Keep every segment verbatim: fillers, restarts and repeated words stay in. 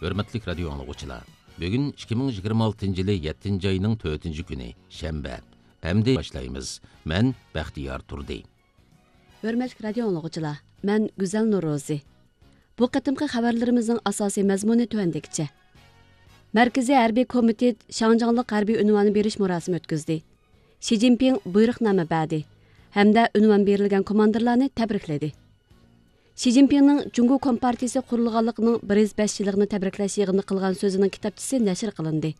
ھۆرمەتلىك رادىيو ئاڭلىغۇچىلار، بۈگۈن ئىككى مىڭ يىگىرمە ئالتىنچى يىلى يەتتىنچى ئاينىڭ تۆتىنچى كۈنى، شەنبە. ئەمدى باشلايمىز. مەن بەختىيار تۇردى. ھۆرمەتلىك رادىيو ئاڭلىغۇچىلار، مەن گۈزەل نورۇزى. بۇ قېتىمقى خەۋەرلىرىمىزنىڭ ئاساسىي مەزمۇنى تۆۋەندىكىچە. مەركىزىي ھەربىي كومىتېت شاڭجاڭلىق ھەربىي ئۇنۋانى بېرىش مۇراسىمى ئۆتكۈزدى. شى جىنپىڭ بۇيرۇقنامە بەردى ھەمدە ئۇنۋان بېرىلگەن كوماندىرلارنى تەبرىكلىدى. شى جىنپىڭنىڭ جۇڭگو كومپارتىيىسى قۇرۇلغانلىقىنىڭ بىر يۈز بەش يىللىقىنى تەبرىكلەش يىغىنىدا قىلغان سۆزىنىڭ كىتابچىسى نەشر قىلىندى.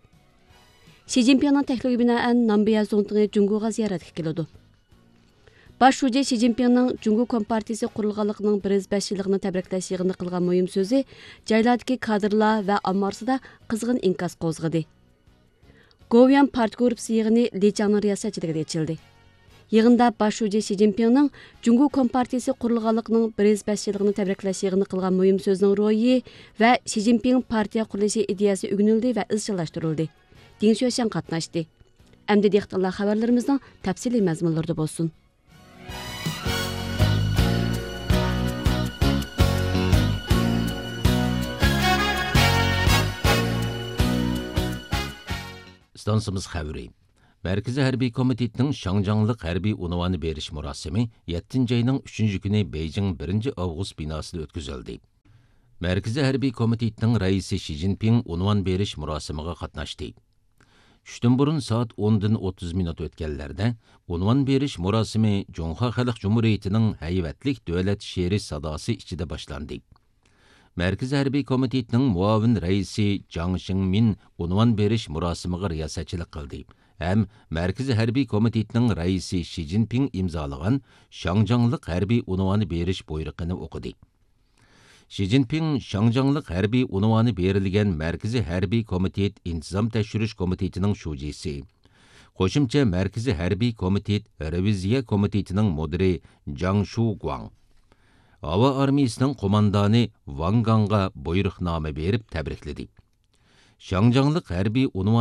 شى جىنپىڭنىڭ تەكلىپىگە بىنائەن، نامبىيە زۇڭتىڭى جۇڭگوغا زىيارەتكە كېلىدۇ. باش شۇجى شى جىنپىڭنىڭ جۇڭگو كومپارتىيىسى قۇرۇلغانلىقىنىڭ بىر يۈز بەش يىللىقىنى تەبرىكلەش يىغىنىدا قىلغان مۇھىم سۆزى جايلاردىكى كادىرلار ۋە ئامما ئارىسىدا قىزغىن ئىنكاس قوزغىدى. گوۋۇيۈەن پارتىيە گۇرۇپپىسى يىغىنى لى چاڭنىڭ رىياسەتچىلىكىدە ئېچىلدى. يىغىندا باش شۇجى شى جىنپىڭنىڭ جۇڭگو كومپارتىيىسى قۇرۇلغانلىقىنىڭ بىر يۈز بەش يىللىقىنى تەبرىكلەش يىغىنى قىلغان مۇھىم سۆزىنىڭ روھى ۋە شى جىنپىڭ پارتىيە قۇرۇلۇشى ئىدىيەسى ئۆگىنىلدى ۋە ئىزچىللاشتۇرۇلدى. دىڭ شۈەشەن قاتناشتى. ئەمدى دىققەتلەر خەۋەرلىرىمىزنىڭ تەپسىلىي مەزمۇنلىرىدا بولسۇن. ئىستانسىمىز خەۋىرى. مەركىزىي ھەربىي كومىتېتنىڭ شاڭجاڭلىق ھەربىي ئۇنۋانى بېرىش مۇراسىمى يەتتىنچى ئاينىڭ ئۈچىنچى كۈنى بېيجىڭ بىرىنچى ئاۋغۇست بىناسىدا ئۆتكۈزۈلدى. مەركىزىي ھەربىي كومىتېتنىڭ رەئىسى شى جىنپىڭ ئۇنۋان بېرىش مۇراسىمىغا قاتناشتى. چۈشتىن بۇرۇن سائەت ئوندىن ئوتتۇز مىنۇت ئۆتكەنلەردە ئۇنۋان بېرىش مۇراسىمى جۇڭخۇا خەلق جۇمھۇرىيىتىنىڭ ھەيۋەتلىك دۆلەت شېئىرى ساداسى ئىچىدە باشلاندى. مەركىزىي ھەربىي كومىتېتنىڭ مۇئاۋىن رەئىسى جاڭ شىڭمىن ئۇنۋان بېرىش مۇراسىمىغا رىياسەتچىلىك قىلدى ھەم مەركىزىي ھەربىي كومىتېتنىڭ رەئىسى شى جىنپىڭ ئىمزالىغان شاڭجاڭلىق ھەربىي ئۇنۋانى بېرىش بۇيرۇقىنى ئوقۇدى. شى جىنپىڭ شاڭجاڭلىق ھەربىي ئۇنۋانى بېرىلگەن مەركىزىي ھەربىي كومىتېت ئىنتىزام تەكشۈرۈش كومىتېتىنىڭ شۇجىسى، قوشۇمچە مەركىزىي ھەربىي كومىتېت رېۋىزىيە كومىتېتىنىڭ مۇدىرى جاڭ شۇگۇاڭ، ھاۋا ئارمىيىسىنىڭ قوماندانى ۋاڭ گاڭغا بۇيرۇقنامە بېرىپ تەبرىكلىدى. شاڭجاڭلىق ھەربىي ئۇنۋان